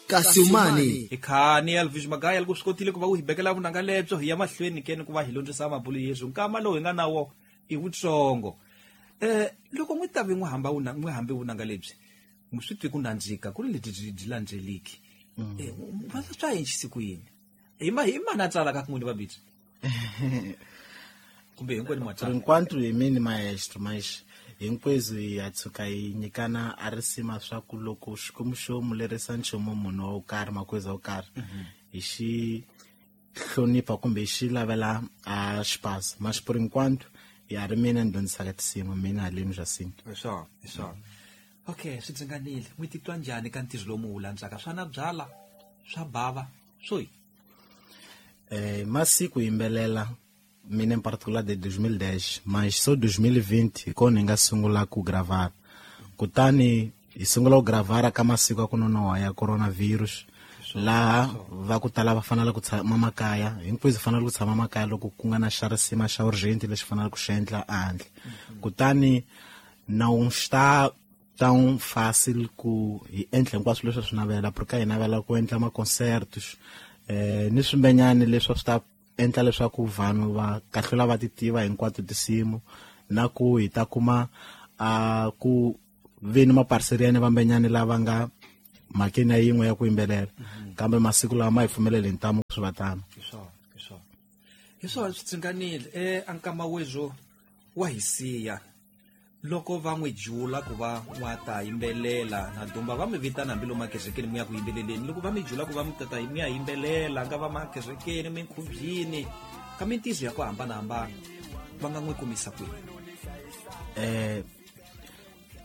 Kasi umani Hi khani Elvis Magaya loko swi kotile ku va u hi bekela vunanga lebyo hi ya mahlweni ke ni ku va hi londzisa mabulu yeswo nkama lowu hi nga na wo i wutsongo. Loko n'wi ta ve n'wi hamba wuna n'wi hambe vunanga lebyi mi swi twi ku nandzika ku ri lebyi byi byi landzeliki. Va swa endlisi ku yini? Hi ma hi mani a tsalaka ku n'wini va bidzi? Kumbe hinkwenu ma Por tsala? enquanto hi mini maestro, mas hinkwenu hi ya tshuka hi nyikana a risima swa ku loko Xikwembu xo mu lerisa nchumu munhu wo karhi makweza wo karhi hi xi hlonipha kumbe hi xi lavela a xipasi, mas por enquanto ya ri mina ni dyondzisaka tinsimu mina haleni Jacinto. Hi swona, hi swona. Okay, swi dzinganile. N'wi titwa njhani ka ntirho lowu mu wu landzaka? Swa na byala, swa bava, swo yi? Masiku yimbelela mina in particular de 2010, mas so 2020 hi kona hi nga sungula ku gravar. Kutani hi sungula ku gravara ka masiku ya ku nonoha ya coronavirus, laha va ku tala va fanele ku tshama makaya, hinkwenu hi fanele ku tshama makaya loko ku nga na xa risima xa urgent lexi faneleke ku xi endla ehandle. Kutani não está tão fácil ku hi endla hinkwaswo leswi swi navela, porque hi navela ku endla ma-concertos, ni swimbenyani leswi swi ta endla leswaku vanhu va kahlula va ti tiva hinkwato tinsimu, na ku hi ta kuma a ku ve ni maparceriani vambenyani lava nga mhakeni ya yin'we ya ku yimbelela. Kambe masiku lawa ma hi pfumeleli hi ntamu swi va tano. Hi swona, hi swona. Hi swona swi tsinganile. A nkama wezwo wa hi siya. Loko va n'wi jula ku va n'wa ta yimbelela na dumba va mi vitana hambi lomu makerekeni mi ya ku yimbeleleni, loko va mi jula ku va mi tata mi ya yimbelela nga va makerekeni minkhubyini ka mintirho ya ku hambanahambana va nga n'wi kumisa kwihi?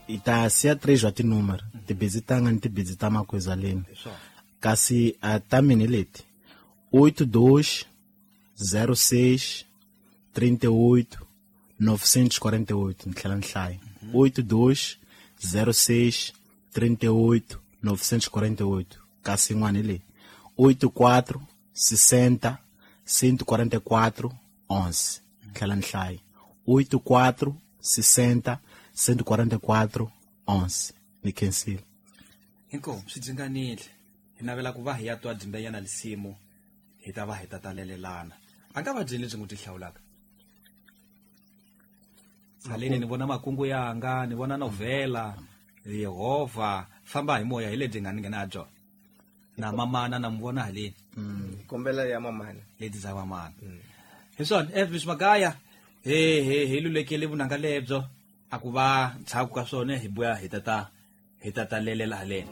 Hi ta siya 3 wa tinumero, tibidzi tanga ni tibidzi ta makwezaleni. Kasi a ta mina leti 82 06 38 948, ni tlhela ni hlaya. 82 06 38 948. Kasi yin'wana hi leyi 84 60 144 11, ni tlhela ni hlaya. 84 60 144 11. Ni khensile. Inkomu swi dzinganile. Hi navela ku va hi ya twa dzimbenyana lisimu hi ta va hi ta talelelana. A nga va byeli lebyi n'wi ti hlawulaka. Haleni ni vona makungu yanga, ni vona novhela, Yehovha, famba hi moya hi lebyi nga ni nghena byona. Na mamana na mi vona haleni. Kombela ya mamana. Leti za mamana. Hi swona, Elvis Magaya, hi lulekele vunanga lebyo, a ku va ndzhaku ka swona hi buya hi tata hi tata lelela haleni.